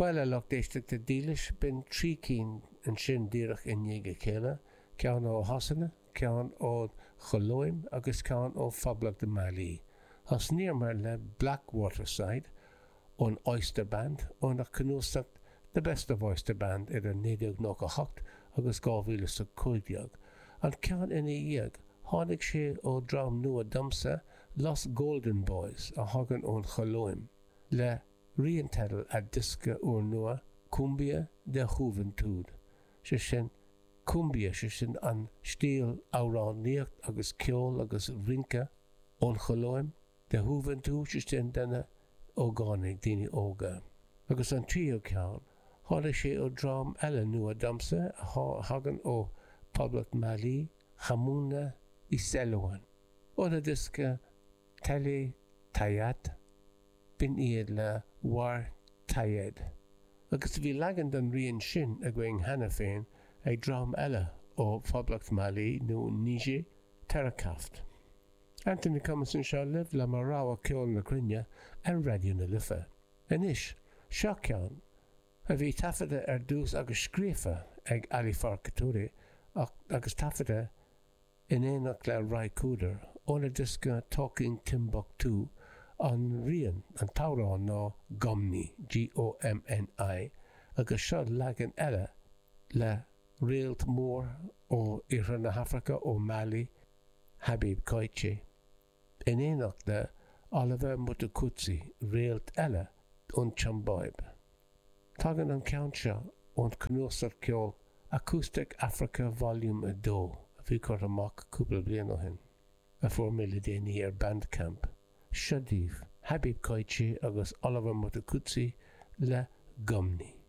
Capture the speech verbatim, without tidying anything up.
Bhuel, a lucht éisteachta dílis, b'in trí cinn ansin díreach i ndiaidh a chéile, ceann ó Shasana, ceann ón Cholóim agus ceann ó Phoblacht Mhailí. Thosnaíomar le Black Waterside ón Oyster Band óna cnuasach The Best of Oyster Band idir naoi déag nócha hocht agus dhá mhíle is a cúig déag. An ceann ina dhiaidh, tháinig sé ó dhream nua domsa, Los Golden Boys, a thagann ón Cholóim, le rianteideal a diosca úrnua, Cumbia de Juventud, sé sin, cumbia, sé sin an stíl amhránaíocht agus ceol agus rince ón Cholóim, de Juventud, sé sin de na hógánaigh, daoine óga. Agus an tríú ceann, tháinig sé ó dhream eile nua domsa a thagann ó Phoblacht Mhailí, Hamuna Iselwan, óna diosca Télé Tayat. B'in iad le War Tayed. Agus bhí leagan den rian sin againn cheana féin ag dream eile ó Phoblacht Mhailí nó Niger, Terakaft. Anthony Cummins anseo libh le mo rogha ceol na cruinne ar Raidió na Life. Anois, seo ceann a bhí taifeadta ar dtús agus scríofa ag Ali Farka Touré agus taifeadta in éineacht le Ry Cooder óna diosca Talking Timbuktu an rian, an t-amhrán ná Gomni, G O M N I, agus seo leagan eile le réalt mór ó iarthar na hAfraice, ó Mali, Habib Koité, in éineacht le Oliver Mtukudzi, réalt eile ón tSiombáib. Tagann an ceann seo ón cnuasach ceoil Acoustic Africa Volume a dó a bhí curtha amach cúpla bliain ó shin, a fuair mé le déanaí ar Bandcamp. Seo daoibh Habib Koité agus Oliver Mtukudzi le Gomni.